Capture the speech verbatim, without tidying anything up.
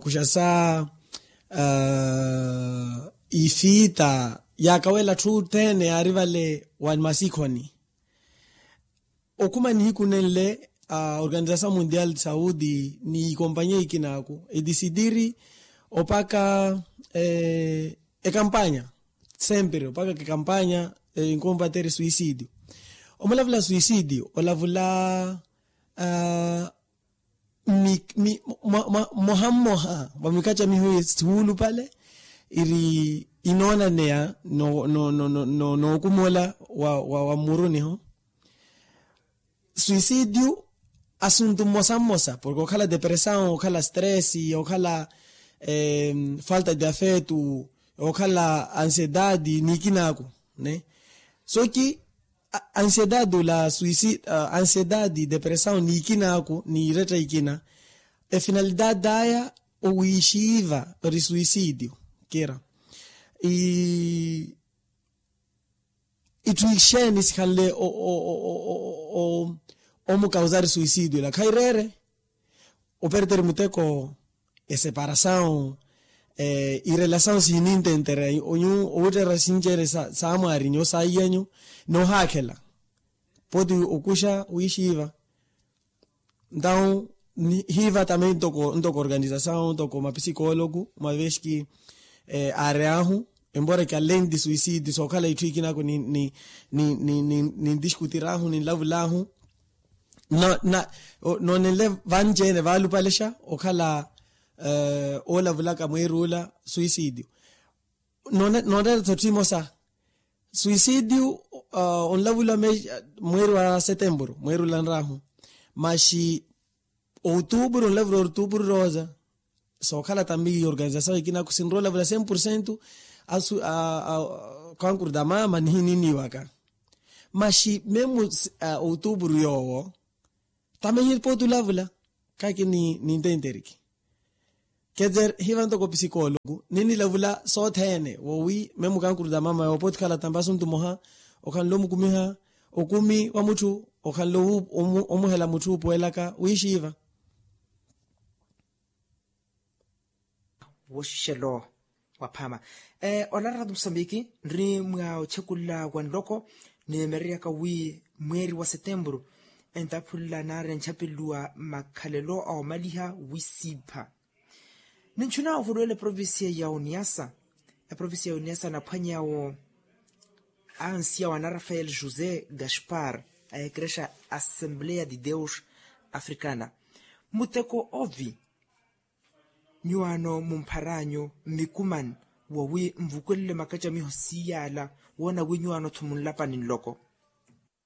Kuxa sa ifiita yaakawela atthu othene yaari vale wa masikhoni. Okhuma nihiku nenle a organizasaw mundial de saudi ni ikompanya ikinaaku edisidiri opaka ekampanya sempre opaka kekampanya enkombatere suisidio. Omulavula suisidio olavula mmoha mmoha vamikacamiho ye suulupale iri inoonaneya nookumola wa mmuruniho. Suisidio asuntu mmosa mmosa porke okhala depressao okhala stress okhala falta de afetu okhala ansiedade niikinaaku. Soki ansiedade ola suisi ansiedade depressao niikinaaku niiretta ikina efinalidade aya owiixiiva ori suisidio kira itthu ixeeni sikhanle omukausari suisidio ila khaireere operteri muteko eseparasawu irelasawu siinintentere onyu owutterera sinceere saamwaarinyu saiyanyu noohaakhela poti okuxa wiixiiva. Ntawu hiiva tamei ntoko organizasawu ntoko mapisikoloku mavexki aari ahu embora ki alendi suisidi sookhala itthu ikinaku nintixkutiraahu ninlavulaahu noonenle vanci-ene vaalupalexa okhala oolavulaka mweeri ula suisidio. Nooreera-tho etthu emosa suisidio onlavula mweeri wa setemburu mweeri ula nraahu maxi outuburu onlavula outuburu rosa sookhala tambi organizasawu ikinaku sinrowa olavula cem porcento asu kankuru da mama nihininiwaka maxi memu outuburu yoowo tame hipooti olavula kaki nintenteriki. Ketser hiva ntoko pisikoloku ninilavula sothene wowi memu kankuru da mama yoowo pooti okhala tambi asuntu moha okhanle omukumiha okumi wa mutthu okhanle omuhela mutthu opuwelaka wiixiiva. Woxixelo waphama olarata musambiki nri mwa ochekunla wa nloko nimereryaka wi mweeri wa setemburu entaphunla naari enchapelluwa makhalelo a omaliha wisiipha. Ninchuna ovuruwela eprovincia ya uniasa eprovincia ya uniasa anaphwanyawo ansiya wa ana rafael josé gaspar a ekrexa assembleya de deus africana muteko ovi nyuwaano mumpharanyu mmikuman wowi nvukwelele makacamiho siyaala woona wi nyuwaano-tho munlapani nloko